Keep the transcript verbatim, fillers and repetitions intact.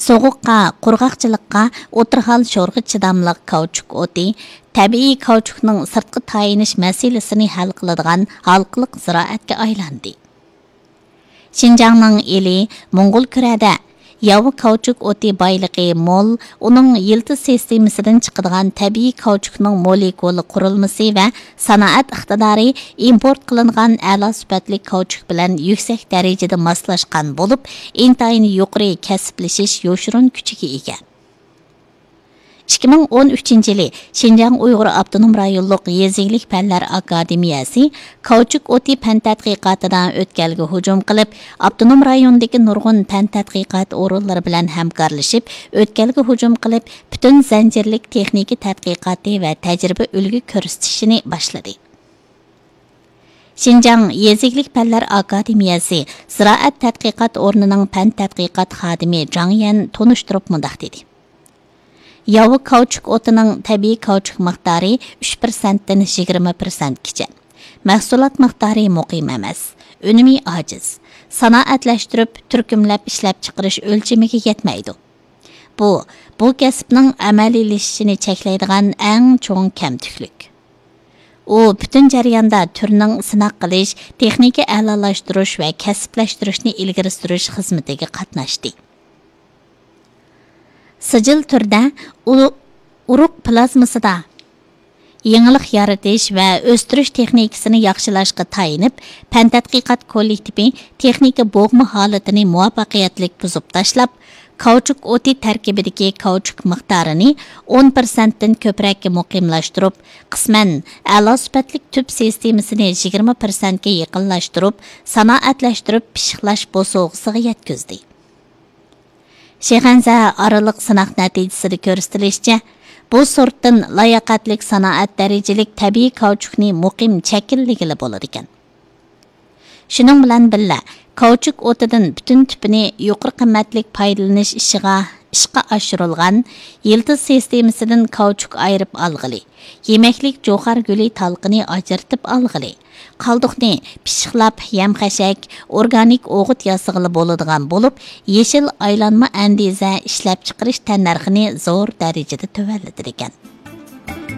سوغۇققا، قۇرغاقچىلىققا، ئوتتۇرا ھال شورىغا چىداملىق كاۋچۇك ئوتى تەبىئىي كاۋچۇكنىڭ سىرتقا تايىنىش مەسىلىسىنى ھەل قىلىدىغان ھالقىلىق زىرائەتكە ئايلاندى. شىنجاڭنىڭ ئىلى موڭغۇلكۈرەدە ياۋا كاۋچۇك ئوتى بايلىقى مول، ئۇنىڭ يىلتىز سىستېمىسىدىن چىقىدىغان تەبىئىي كاۋچۇكنىڭ مولېكۇلا قۇرۇلمىسى ۋە سانائەت ئىقتىدارى ئىمپورت قىلىنغان ئەلا سۈپەتلىك كاۋچۇك بىلەن يۈكسەك دەرىجىدە ماسلاشقان بولۇپ، ئىنتايىن يۇقىرى كەسىپلىشىش يوشۇرۇن كۈچىگە ئىگە. ئىككى مىڭ ئون ئۈچىنچى يىلى شىنجاڭ ئۇيغۇر ئاپتونوم رايونلۇق يېزا ئىگىلىك پەنلەر ئاكادېمىيەسى كاۋچۇك ئوتى پەن تەتقىقاتىدا ئۆتكەلگە ھۇجۇم قىلىپ، ئاپتونوم رايوندىكى نۇرغۇن پەن تەتقىقات ئورۇنلىرى بىلەن ھەمكارلىشىپ، ئۆتكەلگە ھۇجۇم قىلىپ، پۈتۈن زەنجىرلىك تېخنىكا تەتقىقاتى ۋە تەجرىبە ئۈلگە كۆرسىتىشىنى باشلىدى. شىنجاڭ يېزا ئىگىلىك پەنلەر ئاكادېمىيەسى زىرائەت تەتقىقات ئورنىنىڭ پەن تەتقىقات خادىمى جاڭ يەن تونۇشتۇرۇپ مۇنداق دېدى: ياۋا كاۋچۇك ئوتىنىڭ تەبىئىي كاۋچۇك مىقدارى ئۈچ پىرسەنتتىن يىگىرمە پىرسەنتكىچە. مەھسۇلات مىقدارى مۇقىم ئەمەس، ئۈنۈمى ئاجىز. سانائەتلەشتۈرۈپ، تۈركۈملەپ ئىشلەپچىقىرىش ئۆلچىمىگە يەتمەيدۇ. بۇ، بۇ كەسىپنىڭ ئەمەلىيلىشىشىنى چەكلەيدىغان ئەڭ چوڭ كەمتۈكلۈك. ئۇ پۈتۈن جەرياندا تۈرنىڭ سىناق قىلىش، تېخنىكا ئەلالاشتۇرۇش ۋە كەسىپلەشتۈرۈشنى ئىلگىرى سۈرۈش خىزمىتىگە قاتناشتى. سىجىل تۈردە ئۇ-، ئۇرۇق پلازمىسىدا يېڭىلىق يارىتىش ۋە ئۆستۈرۈش تېخنىكىسىنى ياخشىلاشقا تايىنىپ، پەن تەتقىقات كوللېكتىپى تېخنىكا بوغما ھالىتىنى مۇۋەپپەقىيەتلىك بۇزۇپ تاشلاپ، كاۋچۇك ئوتى تەركىبىدىكى كاۋچۇك مىقدارىنى ئون پىرسەنتتىن كۆپرەككە مۇقىملاشتۇرۇپ، قىسمەن ئەلا سۈپەتلىك تۈپ سىستېمىسىنى يىگىرمە پىرسەنتكە يېقىنلاشتۇرۇپ، سانائەتلەشتۈرۈپ پىششىقلاش بوسۇغىسىغا يەتكۈزدى. شىخەنزە ئارىلىق سىناق نەتىجىسىدە كۆرسىتىلىشىچە، بۇ سورتتىن لاياقەتلىك سانائەت دەرىجىلىك تەبىئىي كاۋچۇكنى مۇقىم شەكىللىگىلى بولىدىكەن. شۇنىڭ بىلەن بىللە، كاۋچۇك ئوتىدىن پۈتۈن تۈپىنى يۇقىرى قىممەتلىك پايدىلىنىش ئىشىغا، ئىشقا ئاشۇرۇلغان يىلتىز سىستېمىسىدىن كاۋچۇك ئايرىپ ئالغىلى، يېمەكلىك جوخار گۈلى تالقىنى ئاجرىتىپ ئالغىلى، قالدۇقنى پىششىقلاپ يەم-خەشەك، ئورگانىك ئوغۇت ياسىغىلى بولىدىغان بولۇپ، يېشىل ئايلانما ئەندىزە ئىشلەپچىقىرىش تەننەرخىنى زور دەرىجىدە تۆۋەنلىتىدىكەن.